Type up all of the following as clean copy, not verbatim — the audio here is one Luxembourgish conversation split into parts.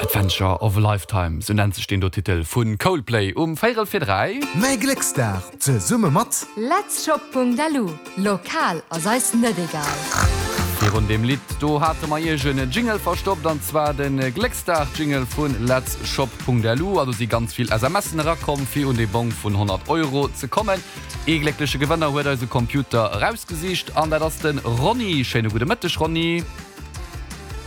Adventure of a Lifetime, sou nennt sech deen do Titel vu Coldplay um véirel vir 3. Mäi Glécksdag zesumme mat. Letzshop.lu, Lokal ass eis net egal. Virun deem Lidd do hate mer iech en Jingle verstoppt, an zwar de Glécksdag-Jingle vu Letzshop.lu. A do si ganz vill SMSen erakomm, fir un dee Bong vun 100 Euro ze kommen. Ee gléckleche Gewënner huet eise Computer erausgesicht, an dat ass de Ronny. Schéine gudde Mëtteg, Ronny.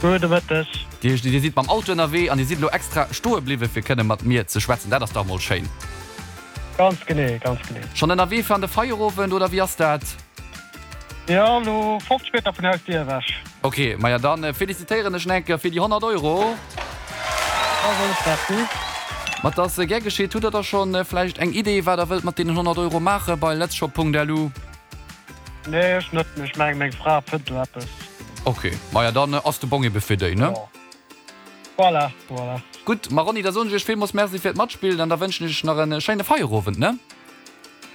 Gudde Mëtteg. Dir, dir sidd mam Auto ënnerwee an dir sidd elo extra stoe bliwwe fir kënne mat mir ze schwätzen. Dat ass dach mol schéin. Ganz genee, ganz genee. Schonn ënnerwee fir an de Feierowend oder wéi ass dat? Jo, elo 50 Meter vun Hausdier ewech. Ok, maja dann felicitéieren ech nach eng Kéier fir déi 100 Euro. Da soen ech Merci. Ma 't ass gär geschitt. Hutt der da schonn vläicht eng Idee wat der wëllt mat deenen 100 Euro maache bei letzshop.lu? Nee, ech net, mee ech mengen meng Fra fënnt do eppes. Ok, maja dann ass de Bong ebe fir déi, ne? Jo. Voilà, voilà. Gutt, ma Ronny, da soen ech iech villmools Merci fir d'Matspillen an da wënschen ech iech nach en schéine Feierowend, ne?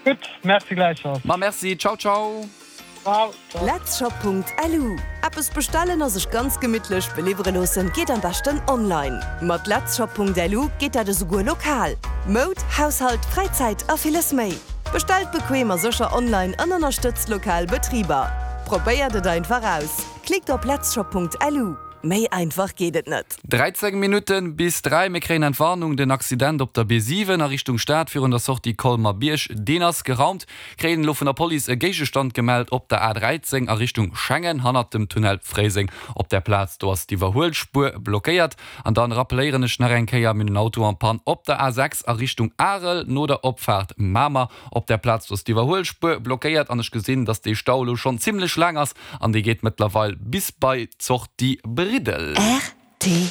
Gutt, Merci gläichfalls. Ma merci, ciao ciao. Ciao, ciao. Letzshop.lu, Eppes bestellen a sech ganz gemittlech beliwwere loossen geet am beschten online. Mat Letzshop.lu geet dat esouguer lokal. Moud, Haushalt, Fräizäit a villes méi. Bestellt bequem a sécher online an ënnerstëtzt lokal Betriber. Probéiert et einfach aus! Klickt op letzshop.lu. Méi einfach geet et net. 13 Minutten bis 3, mir kréien Entwarnung, Den Accident op der B7 a Richtung Stad virun der Sortie Colmer-Bierg, deen ass geraumt. Kréien elo vun der Police e Géigestand gemellt op der A13 a Richtung Schengen, hannert dem Tunnel Fréiseng. Op där Plaz do ass d'Iwwerhuelspuer blockéiert. An dann rappeléieren ech nach eng Kéier, mir hunn en Auto en panne op der A6 a Richtung Arel, no der Opfaart Mamer. Op där Plaz do ass d'Iwwerhuelspuer blockéiert an ech gesinn, dass dee Stau elo schonn zimlech laang ass an dee geet mëttlerweil bis bei d'Sortie Briddel. Rtl.